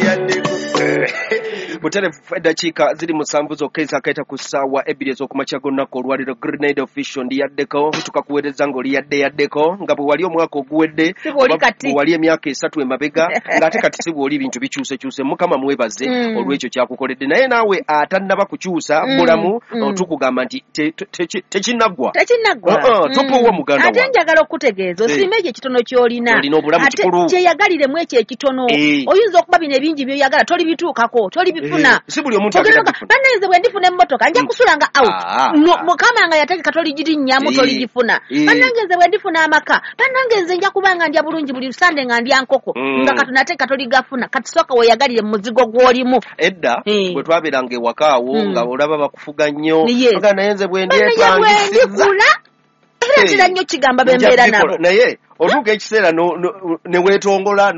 Ndiyaddeko. Buterefu eddakiika ziri 7 zokka ezakaita ku ssaawa 2 ez'okumakya g'olunaku olwaliro. Grenade Official ndiyaddeko, tukakuweereza ng'oli yadde yaddeko, nga bwe wali omwaka oguwedde, Si bw'oli oba kati. bwe wali emyaka 3 emabega, ng'ate kati si bw'oli, ebintu bikyusekyuse. Mukama mwebaze olw'ekyo kyakukoledde. Naye naawe atannaba kukyusa bulamu, tukugamba nti tekinnaggwa. Tekinnaggwa. Topowa muganda Ate wange. njagala okutegeeza, osiime ekyo ekitono ky'olina. Olina obulamu Ate kikulu. kyeyagaliremu ekyo ekitono. Oyinza okuba bino ebingi by'oyagala tolibituukako, tolibifuna. Si buli omuntu Ogenda agenda oga, bifuna. bannange nze bwe ndifuna emmotoka nja kusula nga out. Mukama nga yategeka toligirinyamu, toligifuna. Bannange nze bwe ndifuna amaka, bannange nze nja kuba nga ndya bulungi buli Sande nga ndya nkoko. Nga Katonda ategeka toligafuna. Kati sooka weeyagalire mu muzigo gw'olimu. Edda bwe twabeeranga ewaka awo, nga olaba bakufuga nnyo. Oga naye nze bwe Bannange bwe ndyepangisiza. ndikula, era ntera nnyo kigamba be Nja mbeera bikola. nabo. Naye otuuka ekiseera ne weetongola,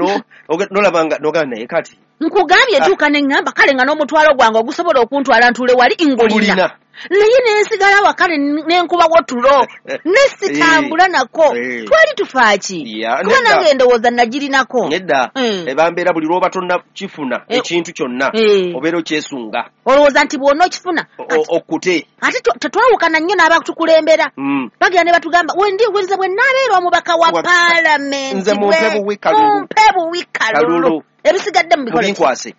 nolaba nga nogamba naye kati. Nkugambye ntuuka ne ŋŋamba kale nga n'omutwalo gwange ogusobola okuntwala ntuule wali ngulina. Ngulina. Naye ne nsigala awaka ne nkubawo tulo. Ne sitambula nako. Twali tufa ki? Kuba nange ndowooza nagirinako. Nedda. Ebambeera buli lw'oba tonnakifuna ekintu kyonna, obeera okyesunga. Olowooza nti bw'onookifuna, Okkute. Ate tetwawukana nnyo n'abatukulembera. Bagenda ne batugamba, nze bwe nnaabeera omubaka wa paalamenti, Nze mumpe buwi kalulu. mumpe buwi kalulu. Kalulu. Ebisigadde mubikole ki? Mubinkwase.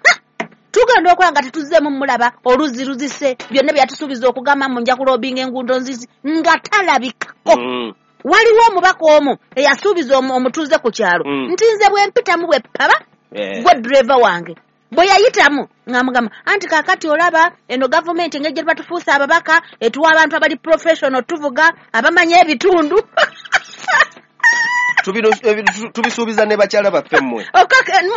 Tugenda okulaba nga tetuzzeemu mulaba, oluzzi luzise, byonna bye yatusuubiza okugamba mbu nja kulobinga enguudo nzizi, nga talabikako. Waliwo omubaka omu eyasuubiza omutuuze ku kyalo nti nze bwe mpitamu bwe ppaba, gwe driver wange. Bwe yayitamu ng'amugamba anti kaakati olaba eno gavumenti engeri gye batufuuse ababaka etuwa abantu abali professional tuvuga abamanyi ebitundu. Tubisuubiza ne bakyala baffe mmwe.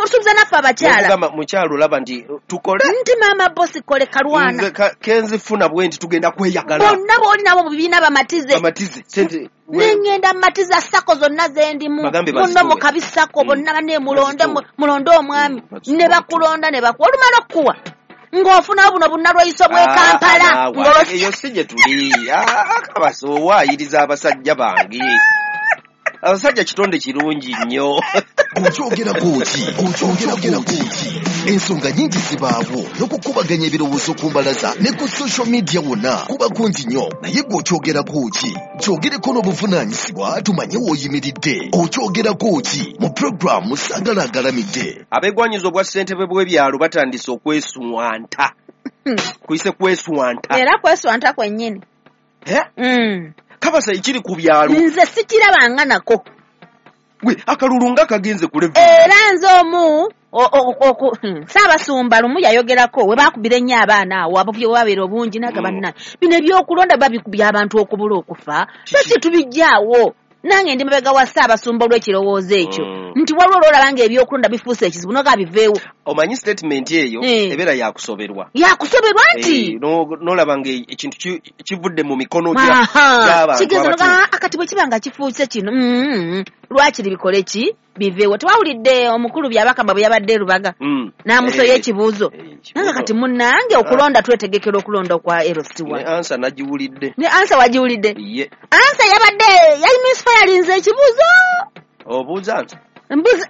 Musuubiza naffe abakyala. Okugamba mukyala olaba nti tukole. Nti maama bosi kole kalwana. Nze kenzifuna bwe nti tugenda kweyagala. Bonna b'oli nabo mu bibiina bamatize. Bamatize. Sente, Ne ŋŋenda mmatiza sako zonna ze ndimu. Bagambe Munno bazituwe. mu kabi sako, bonna banne Bazituwe. mulonde omwami. Bazituwe. Ne bakulonda ne bakuwa. Olumala okukuwa. Ng'ofuna buno bunnalweyiso bw'e Kampala. Eyo si gye tuli. Kabasa owaayiriza abasajja bange. Abasajja kitonde kirungi nnyo. Okyogerako ki? Okyogerako ki? Ensonga nnyingi zibaawo n'okukubaganya ebirowoozo ku mbalaza ne ku social media wonna kuba kungi nnyo. Naye gwe okyogerako ki? Kyogereko n'obuvunaanyizibwa tumanye w'oyimiridde. Okyogerako ki? Mu pulogulaamu Saagala Agalamidde. Abeegwanyiza obwa ssentebe bw'ebyalo batandise okweswanta. Kuyise kweswanta. Era kweswanta kwennyini. Kabasa ekiri ku byalo. Nze sikirabanga nako. Gwe akalulu nga kagenze ku level. Era nze omu, Ssaabasumba lumu yayogerako we baakubira ennyo abaana awo, abo bye babeera obungi n'agamba nna, bino ebyokulonda babikubya abantu okubula okufa. Lwaki tubijjaawo? Nange ndi mabega wa Ssaabasumba olw'ekirowoozo ekyo. Nti waliwo lw'olaba ng'ebyokulonda bifuuse ekizibu n'oga biveewo. Omanyi statement eyo ebeera yakusoberwa. Yakusoberwa nti? N'olaba ng'ekintu kivudde mu mikono gy'abantu Kigeze abatuufu. n'oga, kati bwe kiba nga kifuuse kino, lwakiri bikole ki? Biveewo. Tewawulidde omukulu Byabakama bwe yabadde e Lubaga? N'amusoya ekibuuzo. Nange kati munnange okulonda twetegekera okulonda okwa LC1. Ne ansa nagiwulidde. Ne ansa wagiwulidde? Ye. Ansa yabadde yali misfirinze ekibuuzo. Obuuza ansa? Mbuuza.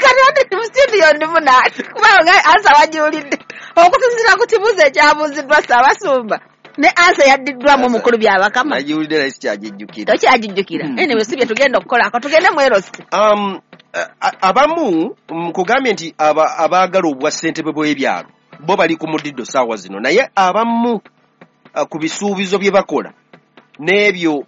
Kati ate mu studio ndimu kubanga ansa wagiwulidde. Okusinziira ku kibuuzo ekyabuuziddwa Ssaabasumba. Ne ansa yaddiddwamu omukulu Byabakama. Nagiwulidde naye sikyagijjukira. Tokyagijjukira. Anyway, si bye tugenda okukolako, tugende mu LC. Abamu, nkugambye nti abaagala obwa ssentebe bw'ebyalo bo bali ku mudiddo ssaawa zino, naye abamu ku bisuubizo bye bakola n'ebyo